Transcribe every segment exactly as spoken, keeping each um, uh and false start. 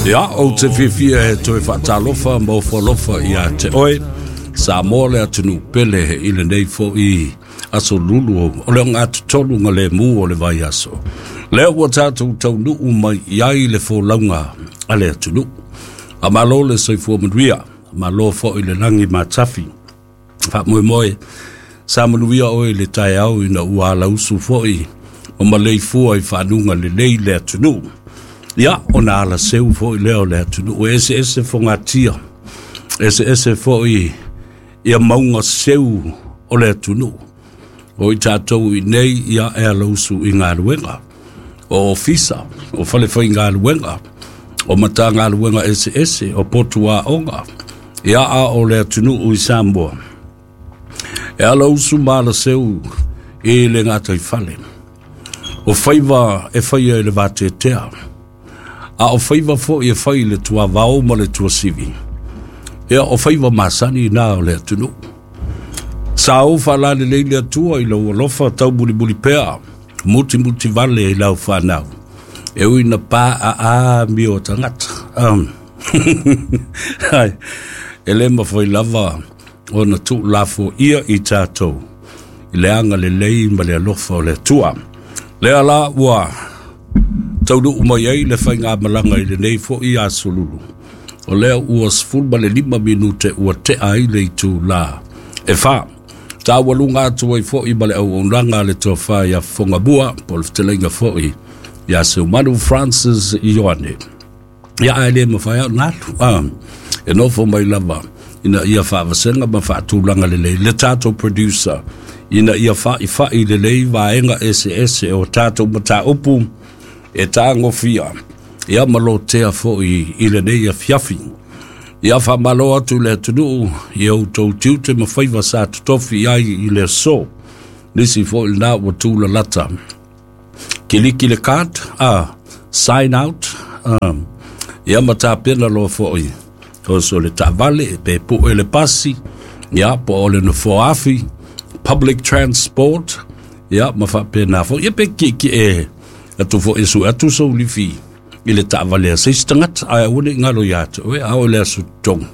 Ia, ou te fiafia e toe faatalofa ma ofo alofa ia te oe, Samoa le atunuu pele i lenei fo'i aso Lulu o le ogatotolu ga lemu o le vaiaso. Lea ua tatou taunuu mai i ai le folauga a le atunuu. Faamalo le soifua manuia, faamalo fo'i le lagi matafi. Faamoemoe sa manuia oe i le taeao ina ua alausu fo'i ma maleifua i faanuga lelei le atunuu. Ia, ona alaseu fo'i lea o le atunuu, e eseese fogatia, eseese fo'i ia mauga seu o le atunuu. O i tatou i nei, ia e alausu i galuega, o ofisa, o falefaigaluega, o matagaluega eseese, o potu aoga, ia a o le atunuu i Samoa, e alausu ma alaseu i le gataifale. O faiva e faia i le vateatea, a o faiva fo'i e fai i le tuavao ma le tuasivi, ia o faiva masani na o le atunuu. Sa ou faalalelei le Atua i lou alofa taumulimuli pea, mutimutivale i lau fanau, e ui na pa a a mio tagata. Um, ai, e le mafai lava ona tuulafoia i tatou i le agalelei ma le alofa o le Atua. Lea la ua taunuu mai ai le faigamalaga i lenei fo'i aso Lulu. O lea ua sefulu ma le lima minute ua tea ai le itulā e fa. Taualuga atu ai fo'i ma le auaunaga a le tofa ia Fofogamua po o le fetalaiga fo'i ia Seumanu Francis Ioane. Ia ae le mafai au ona alu. Ah, e nofo mai lava ina ia faavasega ma faatulaga lelei le tatou producer ina ia fa'ifa'i lelei vaega eseese o tatou mataupu e tagofia ia ma lotea fo'i i lenei afiafi. Ia faamalo atu le atunuu i outou tiute ma faiva sa totofi ai i le aso. Nisi fo'i lena ua tulalata. Kiliki le card, ah, sign out, ah, ia ma tapena loa fo'i. Oso le taavale, pe pu'e le pasi, ia po o le nofoa afi, public transport, ia ma faapena fo'i. Ia pe kiekie atu fo'i e sue atu sou lifi i le taavale a se isi tagata, ae aua ne i galo ia te oe, a oo i le aso totogi.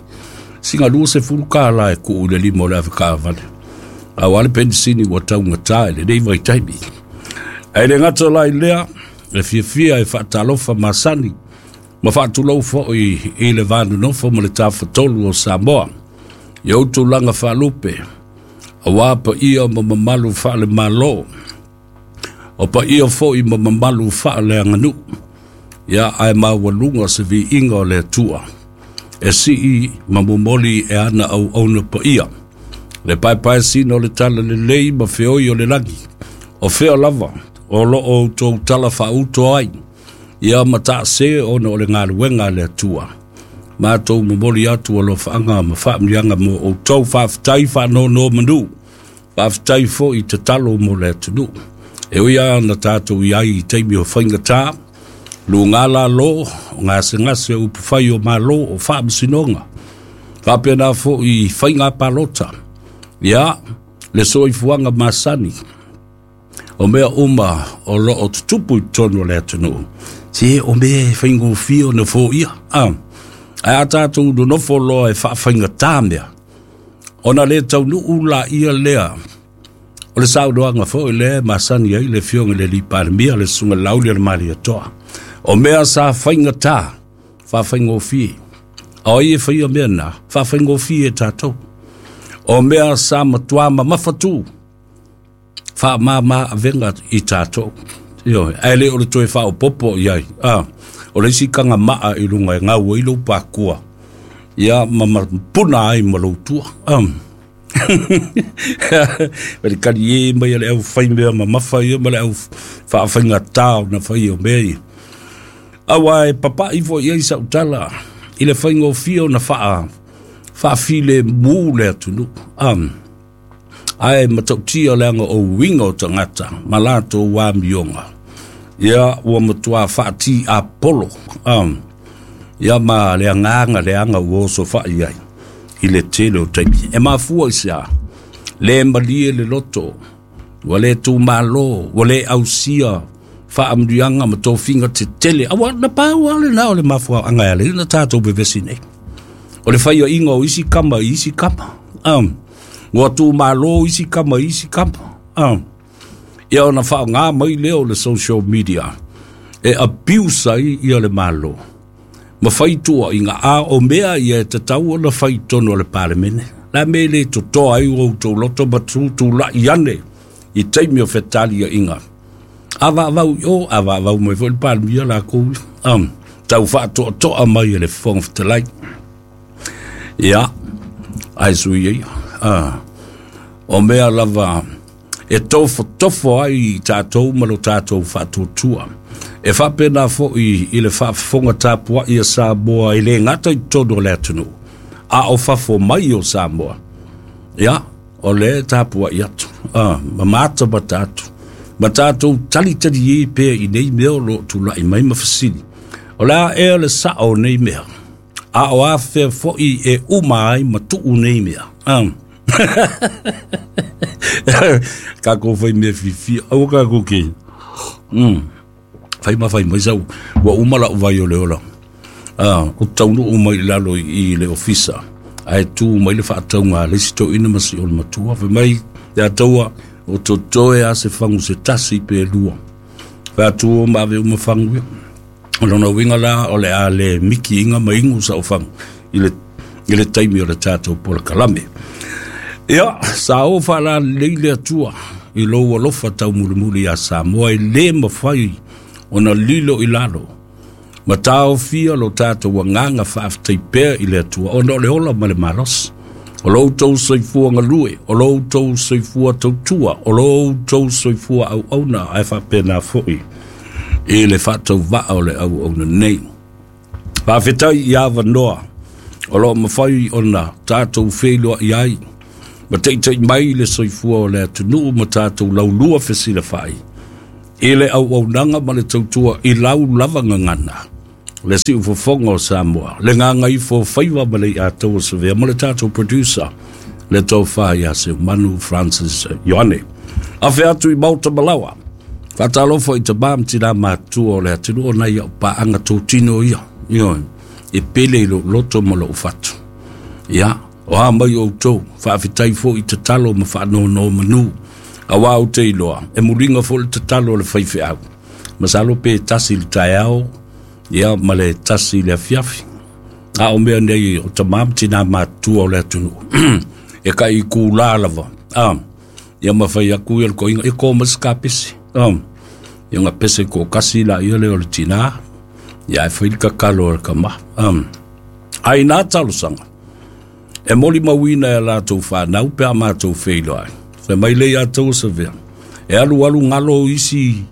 Sina luasefulu kālā e tuu i le lima o le avekaavale. Auā le penisini ua taugatā i lenei vaitaimi. Ae le gata la i lea, e fiafia e faatalofa masani ma faatulou fo'i i le vanonofo ma le tafatolu o Samoa. I ou tulaga faalupe, auā paia ma mamalu faale-Malo, o paia fo'i ma mamalu faaleaganuu. Ia ae maualuga se viiga o le Atua, e sii ma momoli e ana auauna paia. Le paepaesina o le talalelei ma feoi o le lagi, o fea lava o loo outou tala faauto ai, ia ma taase ona o le galuega a le Atua. Matou momoli atu alofaaga ma faamanuiaga mo outou, faafetai faanonomanu, faafetai fo'i tatalo mo le atunuu. E ui lava na tatou i ai i taimi o faigatā, luga lalo, o gasegase o upufai o Malo, o faamasinoga, faapena fo'i faiga palota, ia le soifuaga masani, o mea uma o loo tutupu i totonu o le atunuu. Se o mea e faigofie ona foia. Ah, ae a tatou nonofo loa e faafaigatā mea, ona le taunuu laia lea o le saunoaga fo'i lea e masani ai le afioga i le alii Palemia, le susuga Laauli o le Malietoa. O mea sa faigatā, faafaigofie. A o ai e faia mea na, faafaigofie e tatou. O mea sa matuā mamafatū, faamāmā avega i tatou. Ioe, ae le o le toe faaopopo i ai. Ah, o le isi tagamaa i luga e gau ai lou pakua, ia ma mapuna ai ma lou tua. Um. Ma le kali e mai a le aufaimea mamafa ia ma le au faafaigatā ona fai o mea ia. Auā e papa'i fo'i ai sau tala i le faigofie ona faa faafilemu le atunuu. Um, ae matautia leaga o uiga o tagata ma latou amioga. Ia ua matuā faatiapolo. Um, ia ma le agaga leaga ua oso fa'i ai i le tele o taimi. E mafua i se a, le malie le loto, ua le tumālō, ua le ausia Faamanuiaga ma tofiga tetele auā na pau lava lenā o le mafuaaga e ala ai ona tatou vevesi nei. O le faiaʻiga o isi kama i isi kama, um, ua tumālō isi kama i isi kama, um, ia ona faaaogā mai lea o le social media e abuse ai ia le Malo ma fai tuuaʻiga, a o mea ia e tatau ona fai i totonu o le Palemene. La mea e lē totoa ai ua outou loto ma tutulaʻi ane i taimi o fetaliaʻiga. A vaavau i o, a vaavau mai foi le Palemia lakou um, tau faatoatoa mai e le Fofoga Fetalai. Ia, ae sui ia, uh, o mea lava e tofotofo ai i tatou ma lo tatou faatuatua. E faapena foʻi i le faafofoga tapuaʻi a Samoa e lē gata i totonu o le atunuu, a o fafo mai o Samoa. Ia, o le tapuaʻi atu, uh, ma matamata atu, ma tatou talitali e pea i nei mea o loo tulaʻi mai ma fesili. O le a ea le saʻo o nei mea, a o afea foʻi e uma ai ma tuu nei mea. Um. Kākou fai mea fiafia, aua kākou ke. Mm. Fai ma fai mai sau, ua uma lau vai o le ola. Ah, o taunuu mai i lalo i, i le ofisa. Ae tu mai le faatauga a le isi toeaina ma si o le matua. Fai mai, ia taua, o totoe a se fagu se tasi pe lua. Fai atu o ma ave uma fagu ia. O lona uiga la o le a le miki inga ma igu sa o fagu i le, i le taimi o le tatou polokalame. Ia, sa o faalalelei le Atua i lou alofa taumulimuli iā Samoa e lē mafai ona lilo i lalo. Ma taofia lo tatou agaga faafetai pea i le Atua ona o le ola ma le malosi. O lo outou soifua galue, o lo outou soifua tautua, o lo outou soifua auauna, ae faapena foʻi i le faatauvaa o le auauna nei. Faafetai i avanoa o loo mafai ona tatou feiloaʻi ai ma taʻitaʻi mai le soifua o le atunuu ma tatou laulua fesilafaʻi i le auaunaga ma le tautua i lau lava gagana le siufofoga o Samoa, le gagaifo faiva ma le iataua savea ma le tatou producer le tofa ia Seumanu Francis Ioane. Afe atu i Maota Malawa, faatalofa i tamā ma tinā matua o le atunuu ona ia o paaga totino ia, ioe, e pele i lou loto ma lou fatu. Ia, o a mai outou, faafetai foʻi i tatalo ma faanonomanu, auā ou te iloa, e muliga foʻi le tatalo o le faifeau. Masalo pe tasi i le taeao, ia ma le tasi i le afiafi. A o mea nei o tamā ma tinā matua o le atunuu. E kai i kūlā lava. Ah, ia ma fai aku ia le koiga, e ko ma se kapese. Ah, ia nga pese ko kasi la ia le o le tinā, ia e fai le kakalo o le kama. Ah, ai nā talosaga, e molimauina e latou fanau pe a matou feiloai. Fai mai le ia tou savea. E alu alu galo isi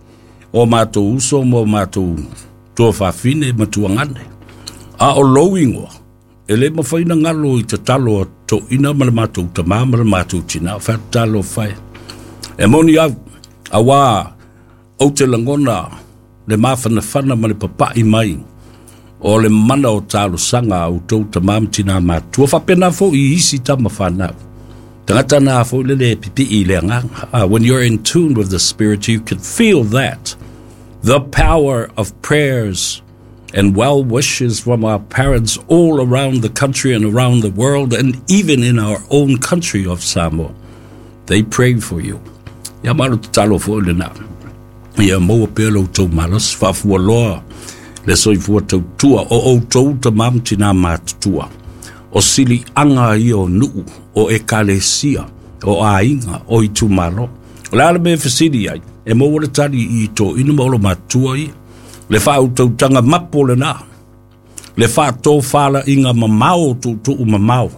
o matou uso ma o matou tuafafine ma tuagane. A o lou igoa, e lē mafai na galo i tatalo a toeaina ma le matou tamā ma le matou tinā, o fatatalo fai. E moni au, auā ou te lagona le mafanafana ma le papaʻi mai o le mana o talosaga a outou tamā ma tinā matua, faapena foʻi i isi tama fanau. Tagata na foʻi le le pipii i le agaga. Uh, when you're in tune with the Spirit, you can feel that. The power of prayers and well wishes from our parents all around the country and around the world, and even in our own country of Samoa. They pray for you. Ia malo tatalo foʻi lenā. Ia maua pea lo outou malosi, faafualoa le soifua tautua o outou tamā ma tinā matutua. O siliaga ia o nuu, o ekalesia, o aiga, o itumalo. O le a le mea fesili ai, e maua le tali i toeaina ma olomatua ia. Le faautautaga mapo lenā, le faatofalaiga mamao o tuutuu mamao.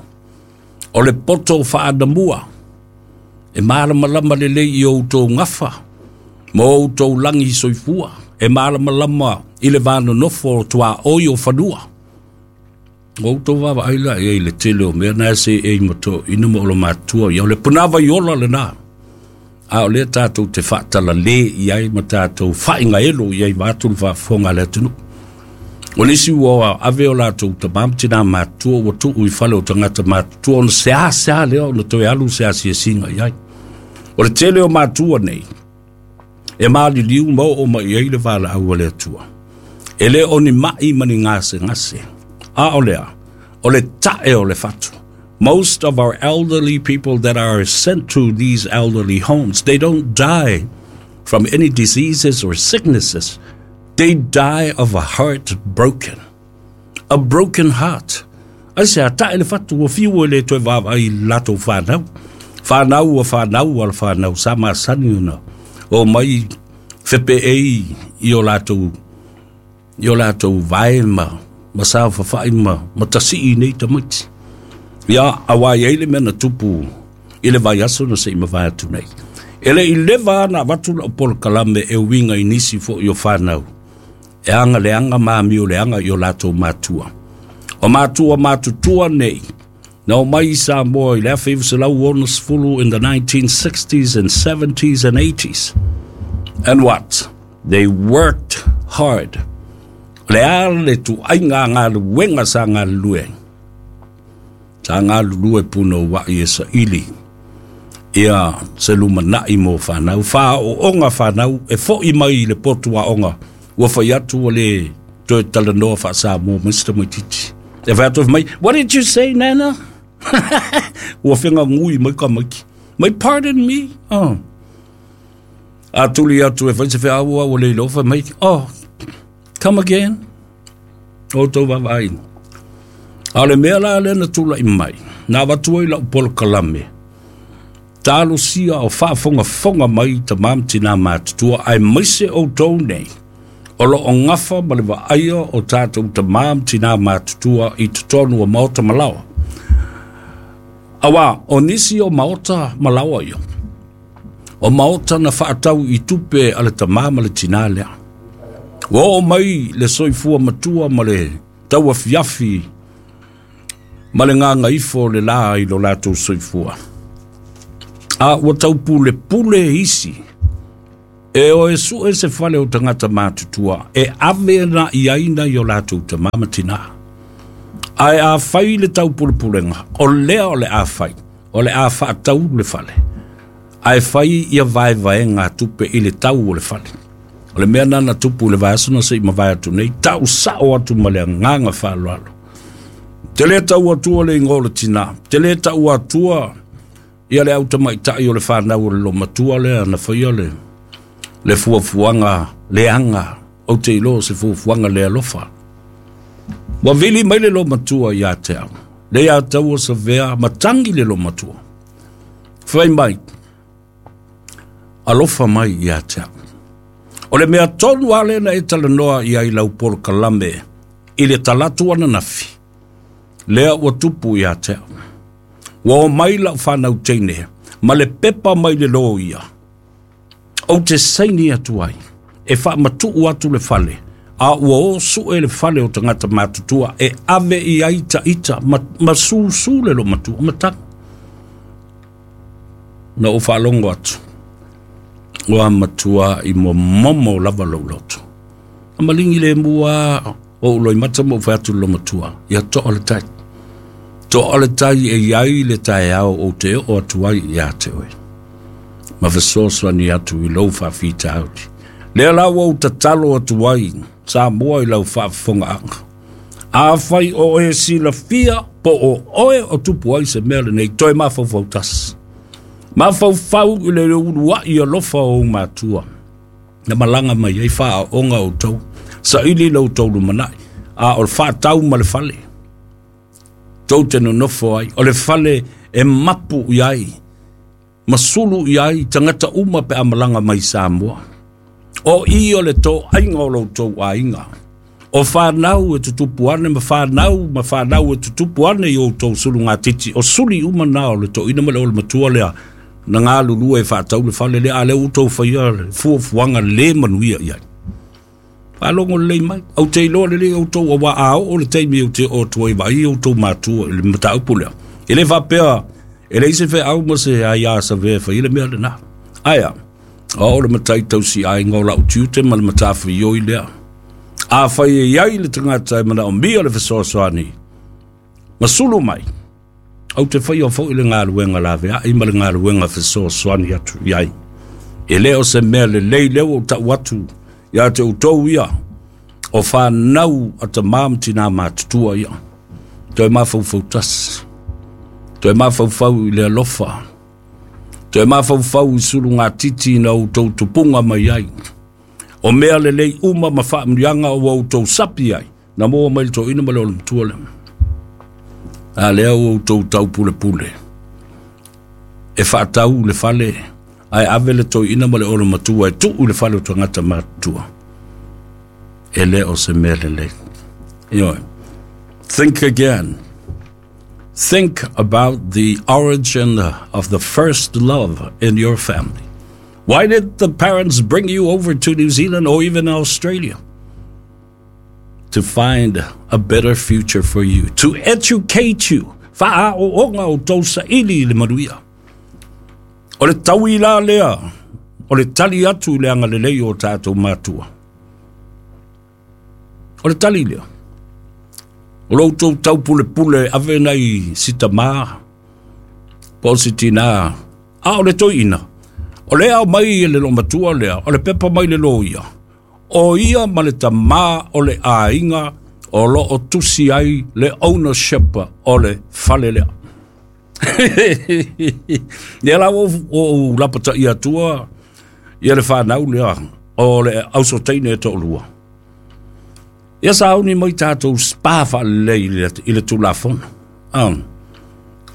O le poto faanamua, e malamalama lelei i outou gafa, ma outou lagi soifua, e malamalama i le vanonofo o tuaoi o fanua. O outou vaavaai la i ai le tele o mea na e seei ma toeaina ma olomatua ia, o le punavai ola lenā. A o lea tatou te faatalale i ai ma tatou faaigaelo i ai vaeatu le faafofoga a le atunuu. O nisi ua ave o latou tamā ma tinā matua ua tuu i fale o tagata matutua ona seasea lea ona toe alu se asiasiga i ai. O le tele o matua nei, E maliliu ma oo mai ai le valaau a le Atua. E le o ni mai ma ni gasegase. A o lea, o le ta'e o le fatu. Most of our elderly people that are sent to these elderly homes, they don't die from any diseases or sicknesses. They die of a heart broken. A broken heart. Ai se a ta'e le fatu ua fiu e le toe vaavaai i latou fanau. Fanau ua fanau a le fanau sa masani ona o mai fepeei i o latou i o latou vae ma ma saofafai ma ma tasii nei tamaiti. Ia auā i ai le mea na tupu i le vaiaso na seʻi mavae atu nei. E le i leva ana avatu lau polokalame e uiga i nisi foʻi o fanau e aga leaga ma amio leaga i o latou matua. O matua matutua nei na omai i Samoa i le afe iva selau onosefulu in the nineteen sixties and seventies and eighties. And what? They worked hard. O le a le tuaiga galuega sa galulue ai. Sa galulue punouaʻi e saʻili ia se lumanaʻi mo fanau. Fāoʻoga fanau e foʻi mai i le potu aoga ua fai atu ua lē toe talanoa faasamoa mai se tamaititi. E fai atu mai, "What did you say, Nana?" Ua fegagui mai kamaiki. Mai, "Pardon me?" Oh. A tuli atu e fai se feaua ua le iloa fai mai, "Oh, come again." O tou vaavaaiga. A o le mea la lea na tulaʻi mai, na avatu ai lau polokalame, talosia o faafogafoga mai tamā ma tinā matutua, aemaise outou nei o loo gafa ma le vaaia o tatou tamā ma tinā matutua i totonu o maota ma laoa. Auā o nisi o maota ma laoa ia, o maota na faatau i tupe a le tamā ma le tinā lea. Ua oo mai le soifua matua ma le tauafiafi ma le gagaifo o le lā i lo latou soifua. A ua taupulepule isi e o e sue se fale o tagata matutua e ave na i ai nai o latou tamā ma tinā. Ae a fai le taupulepulega, o lea o le a fai, o le a faatau le fale. Ae fai ia vaevaega tupe i le tau o le fale. O le mea lena na tupu i le vaiaso na seʻi mavae atu nei, tau saʻo atu ma le agaga faaaloalo. Te lē tau atua le igoa o le tinā, te lē tau atua ia le autamaʻitaʻi o le fanau o le lomatua lea na faia le le fuafuaga leaga ou te iloa se fuafuaga le alofa. Ua vili mai le lomatua iā te au, le iā taua savea matagi le lomatua. Fai mai, alofa mai iā te au. O le mea tonu lava lea na e talanoa i ai lau polokalame i le talatu ananafi, lea ua tupu iā te au. Ua omai lau fanau teine ma le pepa mai le loia ou te saini atu ai e faamatuu atu le fale, a ua o sue le fale o tagata matutua e ave i ai taʻita ma, ma susū le lomatua matagi. Na ou faalogo atu ua matua i momomo lava lou loto. Na maligi le mua o ou loimata ma ou fai atu i le lomatua, ia toa le tai. Toa le tai e iai le taeao ou te oo atu ai iā te oe ma fesoasoani atu i lou faafitauli. Lea la ua ou tatalo atu ai Samoa i lau faafofogaaga. Afai o e silafia po o oe o tupu ai se mea lenei, toe mafaufau tasi. Mafaufau i le uluaʻi alofa o ou matua na malaga mai ai faaoga outou, saʻili lo outou lumanaʻi, a o le faatau ma le fale tou te nonofo ai, o le fale e mapu i ai ma sulu i ai tagata uma pe a malaga mai Samoa. O i o le toaiga o lo outou aiga, o fanau e tutupu ane ma fanau ma fanau e tutupu ane i outou sulugatiti, o suli uma na o le toeaina ma le olomatua lea na galulue e faatau le fale lea, a lea ua outou faia le fuafuaga lē manuia i ai. Faalogo lelei mai, ou te iloa lelei outou, auā a oo le taimi ou te oo atu ai vaai outou matua i le mataupu lea. E lē faapea e leai se feau ma se aiā savea e faia le mea lenā. Ae a o le matai tausiaiga o lau tiute ma le matafaioi lea. Afai e iai le tagata e manaomia le fesoasoani ma sulu mai, ou te faia foʻi le galuega laveaʻi ma le galuega fesoasoani atu i ai. E le o se mea lelei lea ua ou ta'u atu ia te outou ia o fanau a tamā ma tinā matutua ia. Toe mafaufau tasi, toe mafaufau i le alofa, toe mafaufau i sulugatiti na outou tupuga mai ai. O mea lelei uma ma faamuliaga ua outou sapi ai na maua mai le toeaina ma le olomatua lea. A lea ua outou taupulepule e faatau le fale ae ave le toeaina ma le olomatua e tuu i le fale o tagata matutua. E le o se mea lelei. Ioe. Think again. Think about the origin of the first love in your family. Why did the parents bring you over to New Zealand or even Australia? To find a better future for you, to educate you. Fa'ao'oga outou saili i le manuia. O le taui la lea, o le tali atu i le agalelei o tatou matua. O le tali lea. O lo outou taupulepule ave nai si tamā, po o si tinā, a o le toeaina. O le ao mai e le lomatua lea, o le pepa mai le loia. O ia ma le tamā o le aiga o lo o tusi ai le ownership o le fale lea. Ia la o o lapata'i atua ia le fanau lea o le ausoteine e to'alua. Ia sauni mai tatou spa faalelei i le Tulafono. Um,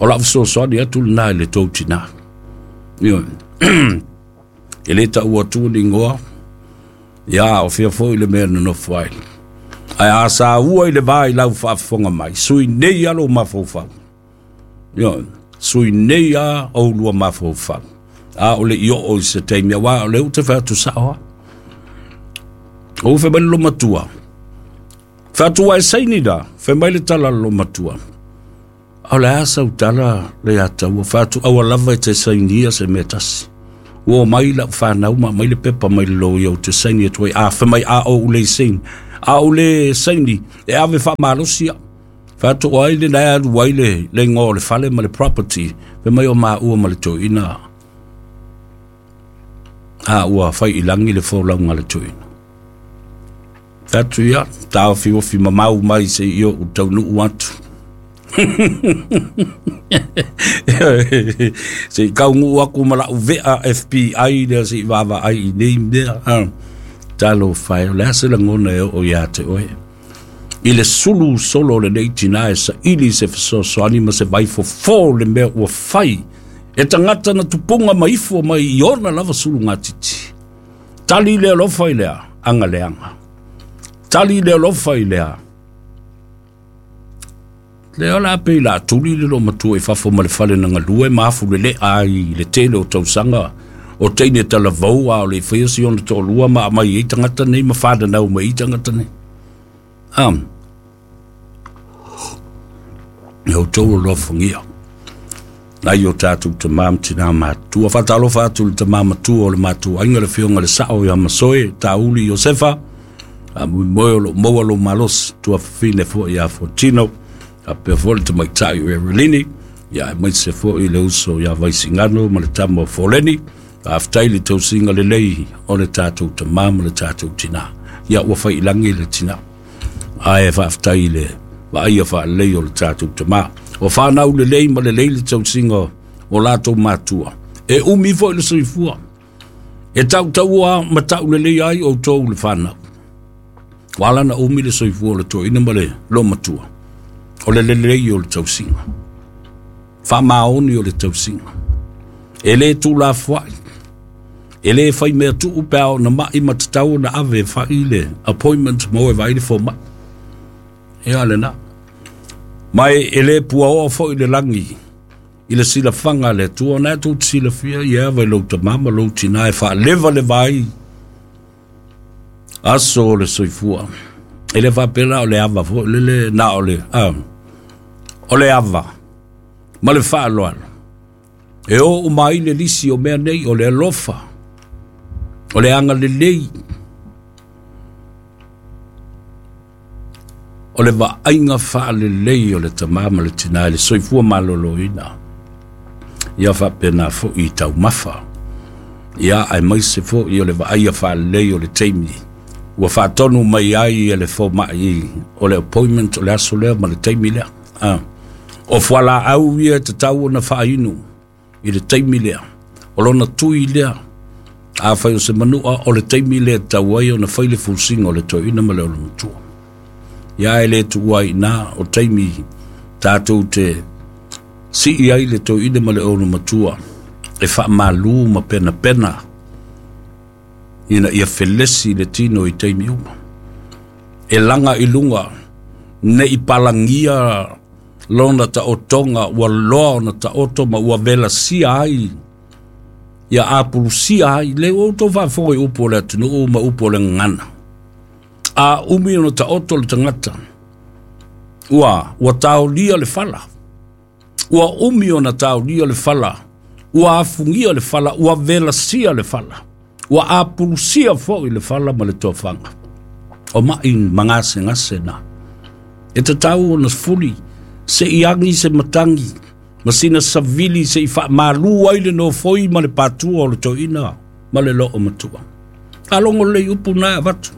o la'u fesoasoani atu lenā i le tou tinā. Ioe. E lē ta'ua atua ni igoa, ia o fia fo'i le mea nonofo ai. Ae a saua i le vā i lau faafofoga mai, sui nei a lou mafaufau. Ioe, sui nei a oulua mafaufau. A o le i oo i se taimi, auā o lea ou te fai atu sa'o a. Ou fai mai le lomatua. Fai atu ua e saini la, fai mai le tala a le lomatua. O le a sau tala le ia taua, fai atu aua lava e te sainia se mea tasi. Ua omai la'u fanau ma aumai le pepa mai le loia ou te saini atu ai. A fai mai a ou le saini. A ou le saini e ave faamalosi a'u. Fai atu o ai lena e alu ai le le igoa o le fale ma le property. Fai mai o maua ma le toeaina. A ua fai i lagi le folauga a le toeaina. Fai atu ia, taofiofi mamau mai seia ou taunuu atu. Se i kauguu aku ma la'u ve'a F B I lea se i vaavaai i nei mea. Talofa e, o le a se lagona e oo iā te oe. I le sulu solo o lenei tinā e saili se fesoasoani ma se vaifofō le mea ua fai e tagata na tupuga ma ifo mai i ona lava sulugatiti. Tali le alofa i lea agaleaga. Tali le alofa i lea. Lea o le a pei la tuli le lomatua i fafo ma le fale na galue ma afu lele'a ai i le tele o tausaga o teine talavou a o le i faia si ona to'alua ma aumai ai tagata nei ma fananau mai ai tagata nei. Am. E outou alofagia. Nai o tatou tamā ma tinā matutua. Faatalofa atu i le tamā matua o le matou aiga le afioga i le sa'o ia Masoe Tauli Iosefa. Faamoemoe o lo'o maua lou malosi tuafafine fo'i ia Fotino. Faapea foi le tamaitai o Erelini. Ia aemaise fo'i le uso ia Vaisigano ma le tama o Foleni. Faafetai le tausiga lelei o le tatou tamā ma le tatou tinā. Ia ua faiilagi le tinā. Ae faafetai i le vaaia faalelei o le tatou tamā. O fanau lelei ma lelei le tausiga o latou matua. E umi fo'i le soifua. E tautaua ma ta'ulelei ai outou le fanau. Ua ala na umi le soifua o le toeaina ma le lomatua. O le lelei o le tausiga. Faamaoni o le tausiga. E lē tulafoa'i. E lē faimea tu'u pe a ona ma'i ma tatau ona ave e fa'i le appointment mo e vaai le foma'i. Ia lenā. Ma e, e lē puaoa fo'i le lagi i le silafaga a le Atua. O na e tou te silafia ia ava i lou tamā ma lou tinā e faalevaleva ai aso o le soifua. E le faapea la o le ava fo'i lele na o le, a, o le ava ma le faaaloalo. E o uma ai le lisi o mea nei o le alofa, o le agalelei, o le vaaiga faalelei o le tamā ma le tinā i le soifua malōlōina. Ia faapena fo'i i taumafa. Ia ai mai se fo'i o le vaaia faalelei o le taimi ua faatonu mai ai e le foma'i o le appointment o le aso lea ma le taimi lea. Ah. O fualaau ia e tatau ona faainu i le taimi lea, o lona tui lea, afai o se manua o le taimi lea e tatau ai ona fai le fusiga o le toeaina ma le olomatua. Ia e le tuua ai iná o taimi tatou te sii ai le toeaina ma le olomatua e faamalu ma penapena ina ia felesi le tino i taimi uma. E laga i luga nei palagia lona taotoga ua loa ona taoto ma ua velasia ai ia apulusia ai le ua outou faafofoga i upu o le atunuu ma upu o le gagana. A umi ona taoto le tagata ua ua taolia le fala, ua umi ona taolia le fala, ua afugia le fala, ua velasia le fala, ua apulusia fo'i le fala ma le tofaga. O ma'i magasegase na e tatau ona fuli se'i agi se matagi ma sina savili se'i faamalu ai le nofoi ma le patua o le toeaina ma le loo matua. Faalogo lelei upu na e avatu.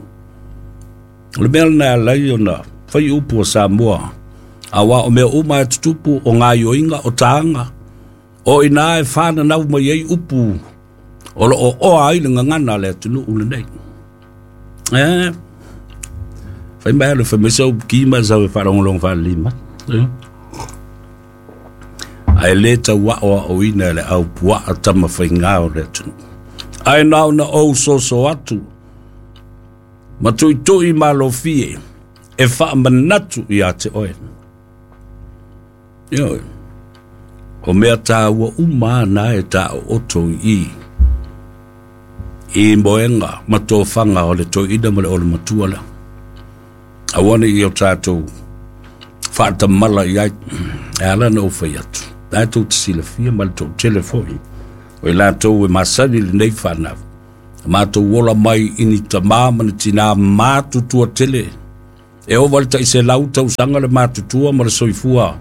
O le mea lena e ala ai ona fai upu a Samoa, auā o mea uma e tutupu o gaioiga o taga o iná e fananau mai ai upu o loo oa ai le gagana a le atunuu lenei. E fai mai le fai mai sau ki ma sau e faalogologo faalelima. Ae lē tauaʻoaʻoina e le aupuaa tamafaigā o le atunuu. Ae na ona ou soso atu ma tuitui malofie e faamanatu iā te oe. Ioe, o mea tāua uma na e taooto i i moega ma tofaga o le toeaina ma le olomatua lea. Aua nei o tatou faatamala i ai, e ala na ou fai atu. La e tou te silafia ma le toatele fo'i o i latou e masani lenei fanau. Matou ola mai i ni tamā ma ni tinā matutua tele. E ova le ta'iselau tausaga le matutua ma le soifua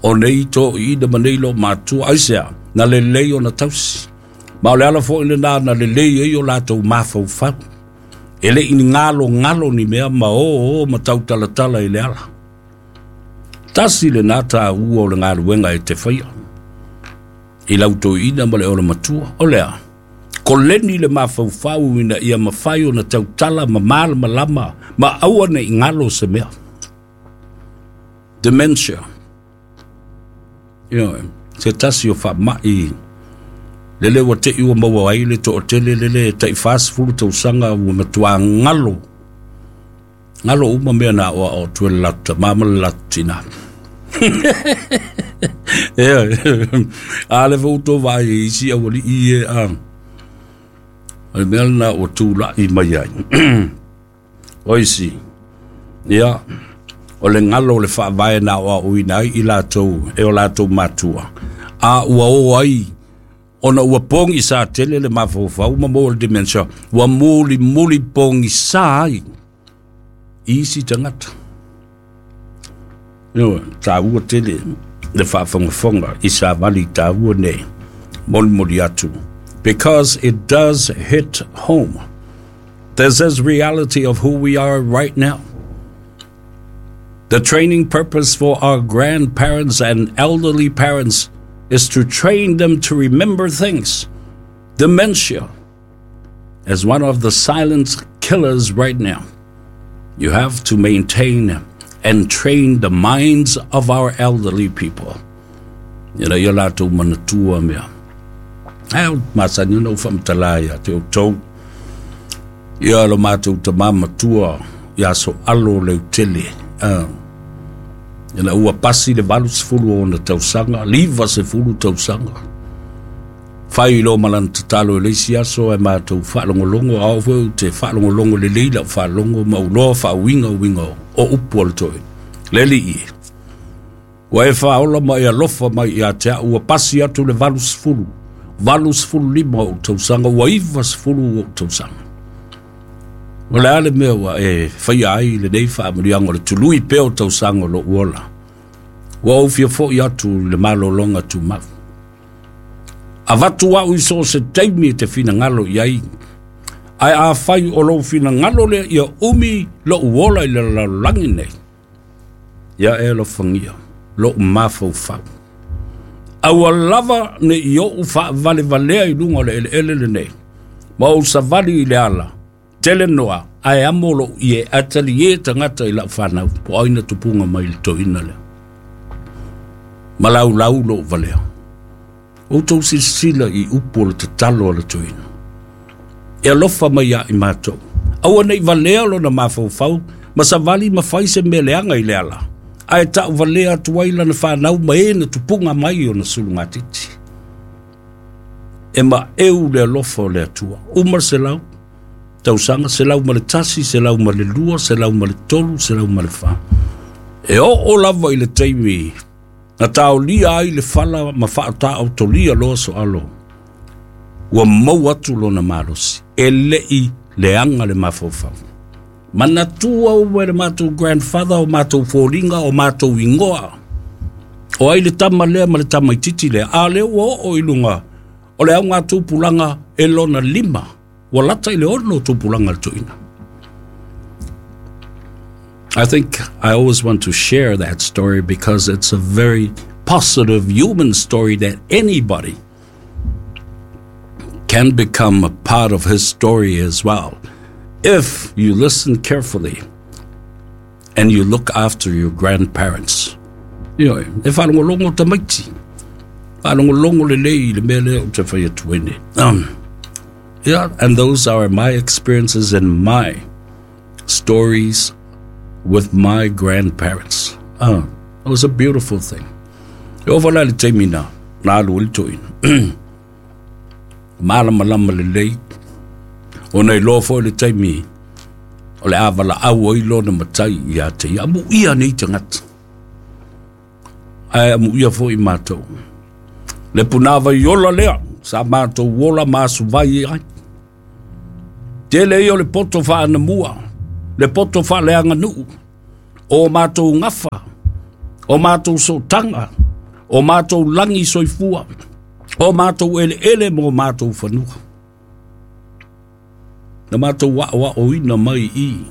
o nei toʻiina ma nei loo matua. Aisea na lelei ona tausi. Ma o le ala fo'i lenā na lelei ai o latou mafaufau. E le'i ni galo galo ni mea ma o o ma tautalatala i le ala. Tasi lenā tāua o le galuega e te faia i lau toeaina ma le olomatua. O lea, koleni le mafaufau ina ia mafai ona tautala ma malamalama ma aua nei galo se mea. Dementia. Ioe, se tasi o faama'i lele ua te'i ua maua ai le toʻatele lele taʻi fasefulu tausaga ua matuā galo galo uma mea na aʻoaʻo atu e le latou tamā ma le latou tinā. Ioe, a le foi outou vaai i isi aualiʻi e a o le mea lena ua tulaʻi mai ai. O isi, ia, o le galo o le faavae na aʻoaʻoina ai i latou e o latou matua. A ua o ai ona ua pogisā tele le mafaufau ma maua le dementia, ua mulimuli pogisā ai i isi tagata. Ioe, tāua tele le faafogafoga i savali tāua nei molimoli atu. Because it does hit home. This is reality of who we are right now. The training purpose for our grandparents and elderly parents is to train them to remember things. Dementia is one of the silent killers right now. You have to maintain and train the minds of our elderly people. Ina ia latou manatua mea. Ae o masani ona ou faamatala ia te outou. Ia lo matou tamā matua ia so alo leutele. Uh, ina ua pasi le valu sefulu ona tausaga, liva sefulu tausaga. Fai lo malana tatalo i le isi aso e matou faalogologo, a oo foi ou te faalogologo lelei lau faalogo ma uloa faauiga uiga o upu o le toeaina. Le alii e, ua e faaola ma e alofa mai ia te a'u, ua pasi atu le valu sefulu, valu sefulu lima ou tausaga, ua iva sefulu ou tausaga. O le a le mea ua e faia ai lenei faamanuiaga o le tului pea o tausaga o lo'u ola. Ua ou fia fo'i atu i le malologa tumau. Avatu au i so se taimi te finagalo i ai. Ae afai o lou finagalo lea ia umi lo'u ola i le lalolagi nei, ia e alofagia lo'u mafaufau. Aua lava ne i o'u fa'avalevalea i luga o le eleele lenei, ma ou savali i le ala tele noa, ae amo lo'u ie atali e tagata i la'u fanau po o aina tupuga mai le toeaina lea. Ma laulau lo'u valea. Outou silasila i upu o le tatalo a le toeaina. E alofa mai ia i matou. Aua nei valea lona mafaufau, ma savali ma fai se mea leaga i le ala. Ae ta'u valea atu ai lana fanau ma e na tupuga mai ona sulugatiti. E ma'eu le alofa o le Atua. Uma le selau, tausaga, selau ma le tasi, selau ma le lua, selau ma le tolu, selau ma le fa. E oo lava i le taimi na taolia ai le fala ma fa'ata'otolia loa so'alo. Ua maua atu lona malosi. E le'i leaga le mafaufau. Manatua uma e le matou grandfather o matou foliga o matou igoa. O ai le tama lea ma le tamaititi lea. A lea ua oo i luga o le auga tupulaga e lona lima. Ua lata i le ono tupulaga le toeaina. I think I always want to share that story because it's a very positive human story that anybody can become a part of his story as well, if you listen carefully and you look after your grandparents. Ioe, e faalogologo tamaiti. Faalogologo lelei i le mea lea ou te fai atu ai nei. Um, yeah, and those are my experiences and my stories with my grandparents. Uh, it was a beautiful thing. E ova la le taimi na, na alu ai le toeaina. Malamalama lelei. Ona iloa foi le taimi o le a valaau ai lona matai ia te ia. Amuia nei tagata. Ae amuia foi matou. Le punāvai ola lea, sa matou ola ma asuvai ai. Tele ia o le poto fa'anamua, le poto fa'aleaganuu, o matou gafa, o matou sootaga, o matou lagi soifua, o matou eleele ma o matou fanua. Na matou a'oa'oina mai i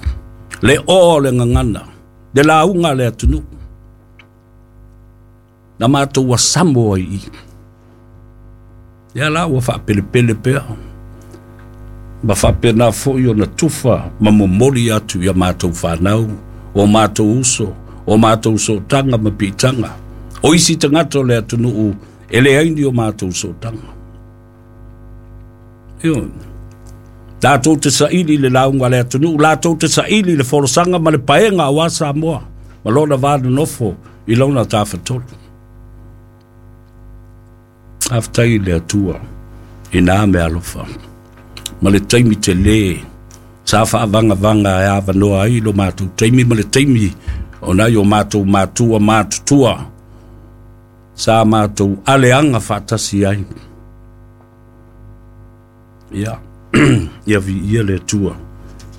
le o le gagana, le lauga a le atunuu. Na matou asamo ai i. Ia la ua faapelepele pea. Ma faapena foi ona tufa ma momoli atu ia matou fanau, o matou uso, o matou sootaga ma piitaga. O isi tagata o le atunuu e leai ni o matou sootaga. Ioe. Latou te saili le lauga a le atunuu, latou te saili le folasaga ma le paega aua Samoa, ma lona va nonofo i lona tafatolu. Faafetai i le Atua i na mea alofa. Ma le taimi telē sa faavagavaga e avanoa ai lo matou taimi ma le taimi o nai o matou matua matutua sa matou aleaga faatasi ai. Ia, ia viia le Atua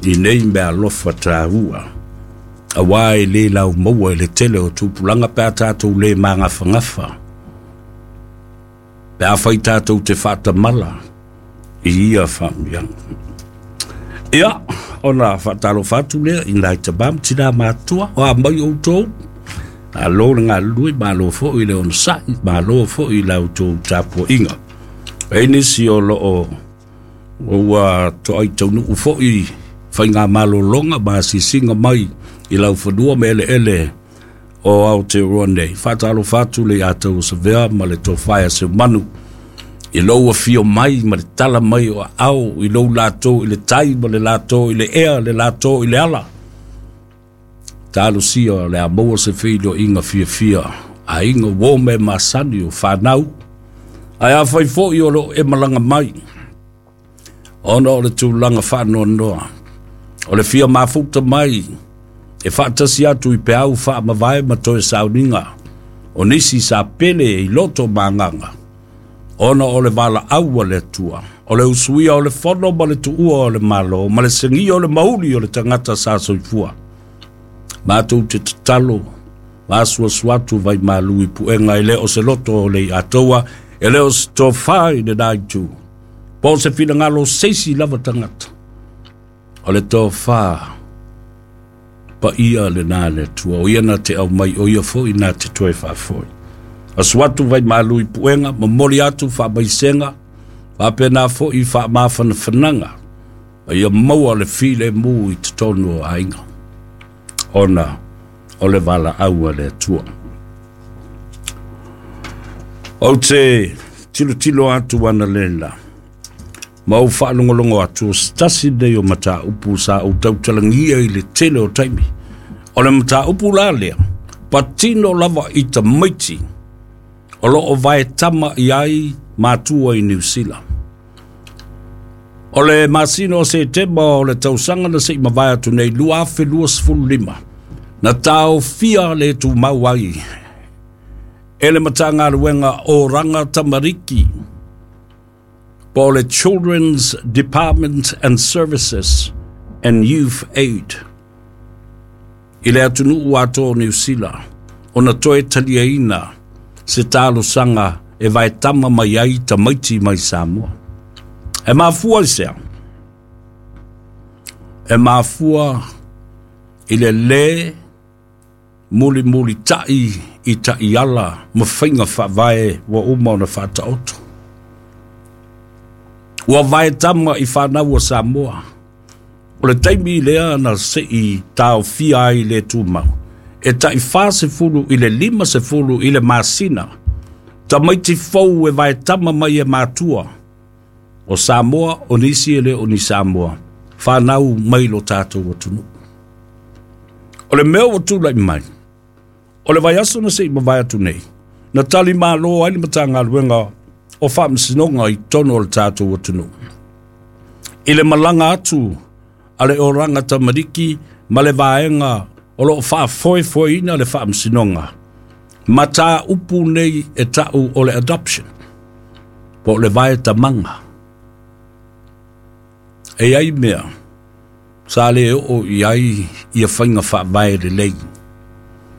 i nei mea alofa taua. Auā e lē laumaua i le tele o tupulaga pe a tatou lē magafagafa. Pe afai tatou te faatamala i ia faamuiaga. Ia, ona faatalofa atu lea i nai tamā ma tinā matutua, o a mai outou, malo le galulue, malo foi le onosai, malo foi i la outou tapuaiga. E nisi o loo ua toai taunuu foi faiga malologa ma asiasiga mai i laufanua ma eleele o Aotearoa nei. Faatalofa atu le ia tau o Savea ma le tofa ia Seumanu i lou afio mai ma le tala mai o aao i lou latou i le tai ma le latou i le ea le latou i le ala. Talosia o le a maua se feiloaiga fiafia aiga uo ma e masani o fanau. Ae afai foi o loo e malaga mai ona o le tulaga faanoanoa o le fia mafuta mai e faatasi atu i peau faamavae ma toe sauniga o nisi sa pele i loto ma agaga ona o le valaau a le Atua, o le usuia o le fono ma le tuua o le Malo ma le segia o le mauli o le tagata sa soifua. Matou te tatalo ma asuasu atu vaimalu i puega e le o se loto o le iatoa E le o se tofā i lenā itu, po o se finagalo o se isi lava tagata. O le tofā paia lenā a le Atua, o ia na te aumai, o ia foi na te toe faafoi. Asu atu vaimalu i puega, momoli atu faamaisega, faapena foi faamafanafanaga, ma ia maua le filemu i totonu o aiga, ona o le valaau a le Atua. Ou te tilotilo atu analeila, ma ou faalogologo atu o se tasi lenei o mataupu sa ou tautalagia i le tele o taimi. O le mataupu la lea, patino lava i tamaiti o lo o vaetama i ai matua i Niu Sila. O le masina o Setema o le tausaga na se i mavae atu nei lua afe luasefulu lima, na taofia le tumau ai e le Matagaluega o Raga Tamariki po o le Children's Department and Services and Youth Aid i le atunuu atoa o Niu Sila ona toe taliaina se talosaga e vaetama mai ai tamaiti mai Samoa. E mafua i sea? E mafua i le lē mulimulita'i i ta'iala ma faiga faavae ua uma ona faataoto. Ua vaetama i fanau a Samoa. O le taimi lea na se'i taofia ai le tumau, e ta'i fasefulu i le lima sefulu i le masina, tamaiti fou e vaetama mai e matua o Samoa, o nisi e le o ni Samoa, fanau mai lo tatou atunuu. O le mea ua tula'i mai, o le vaiaso na se'i mavae atu nei, na tali malo ai le Matagaluega o Faamasinoga i totonu o le tatou atunuu i le malaga atu a le Oraga Tamariki ma le vaega o lo o faafoefoeina le faamasinoga mataupu nei e ta'u o le adoption po o le vaetamaga. E i ai mea sa le oo i ai ia faiga faavae lelei.